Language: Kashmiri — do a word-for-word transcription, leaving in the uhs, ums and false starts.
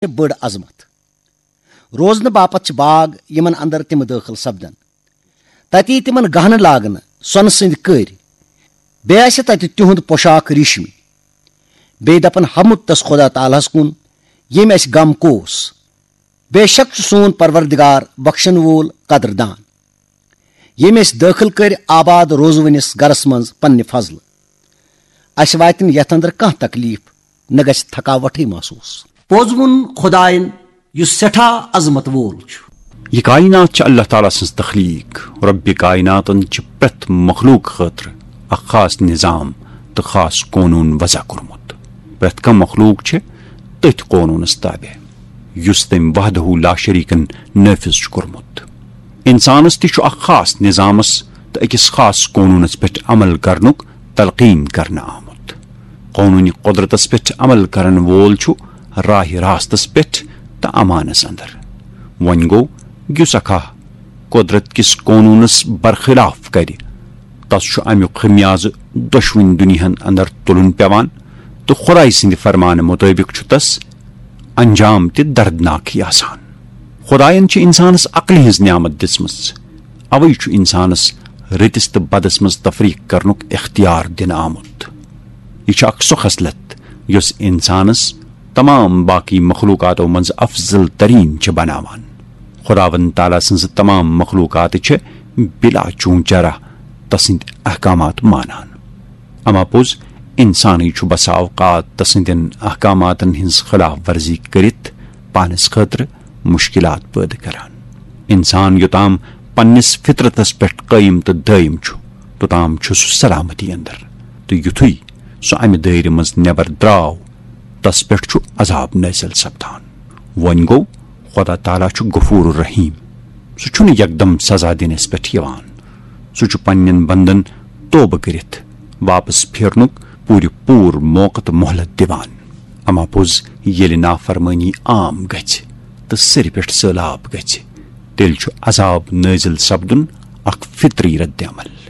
چھِ بٔڑ عظمت۔ روزنہٕ باپتھ چھِ باغ، یِمن اندر تِم دٲخل سپدن۔ تتی تِمن گہنہٕ لاگنہٕ، سۄنہٕ سٕنٛدۍ کٔرۍ۔ بیٚیہِ آسہِ تتہِ تِہُنٛد پوشاک ریشمی۔ بیٚیہِ دپن، ہمُت تس خدا تعالیٰ ہس کُن، ییٚمۍ اسہِ غم کوس۔ بے شک چھُ سون پروردگار بخشن وول، قدردان، ییٚمۍ اسہِ دٲخل کٔرۍ آباد روزوٕنِس گرس منٛز پننہِ فضلہٕ۔ اسہِ واتہِ نہٕ یتھ اندر کانٛہہ تکلیف، نہ گژھِ تھکاوٹھٕے محسوس۔ پوٚز ووٚن خداین، یُس سٮ۪ٹھاہ عظمت وول چھُ۔ یہِ کائنات چھِ اللہ تعالیٰ سٕنٛز تخلیٖق۔ رۄبِ کائناتن چھِ پرٛٮ۪تھ مخلوق خٲطرٕ اکھ خاص نظام تہٕ خاص قونوٗن وضع کوٚرمُت۔ پرٛٮ۪تھ کانٛہہ مخلوق چھِ تٔتھۍ قونوٗنس تابع، یُس تٔمۍ وحدہ لا شریکن نٲفذ چھُ کوٚرمُت۔ انسانس تہِ چھُ اکھ خاص نظامس تہٕ أکِس خاص قونوٗنس پٮ۪ٹھ عمل کرنُک تلقین کرنہٕ آمُت۔ قونوٗنِ قدرتس پٮ۪ٹھ عمل کرن وول چھُ راہِ راستس پٮ۪ٹھ تہٕ امانس اندر۔ وۄنۍ گوٚو، یُس اکھاہ قدرت کِس قونوٗنس برخلاف کرِ، تس چھُ امیُک خمیازٕ دۄشوٕنۍ دُنیاہن اندر تُلُن پٮ۪وان، تہٕ خدایہِ سٕنٛدِ فرمانہٕ مُطٲبِق چھُ تس انجام تہِ دردناکٕے آسان۔ خدایَن چھِ انسانس عقلہِ ہٕنٛز نعمت دِژمٕژ، اوے چھُ انسانس رٕتِس تہٕ بدس منٛز تفریق کرنُک اختیار دِنہٕ آمُت۔ یہِ چھِ اکھ سۄ خصلت، یۄس انسانس تمام باقی مخلوقاتو منٛز افضل ترین چھِ بناوان۔ خداوند تعالیٰ سٕنٛزٕ تمام مخلوقات چھِ بلا چون چرہ تسٕنٛدۍ احکامات مانان۔ اما پوٚز، انسانٕے چھُ بسا اوقات تسٕنٛدٮ۪ن احکاماتن ہٕنٛز خلاف ورزی کٔرِتھ پانس خٲطرٕ مشکلات پٲدٕ کران۔ انسان یوٚتام پننِس فطرتس پٮ۪ٹھ قٲیِم تہٕ دٲیِم چھُ، توٚتام چھُ سُہ سلامتی اندر، تہٕ یُتھُے سُہ امہِ دٲیرٕ منٛز نٮ۪بر درٛاو، تس پٮ۪ٹھ چھُ عذاب نٲزِل سپدان۔ وۄنۍ گوٚو، خدا تعالیٰ چھُ غفور الرحیم۔ سُہ چھُنہٕ یکدم سزا دِنس پٮ۪ٹھ یِوان۔ سُہ چھُ پننٮ۪ن بندن توبہٕ کٔرِتھ واپس پھیرنُک پوٗرٕ پوٗرٕ موقعہٕ تہٕ مۄہلت دِوان۔ اما پوٚز، ییٚلہِ نافرمٲنی عام گژھِ تہٕ سرِ پٮ۪ٹھ سٔہلاب گژھِ، تیٚلہِ چھُ عذاب نٲزِل سپدُن اکھ فطری رد عمل۔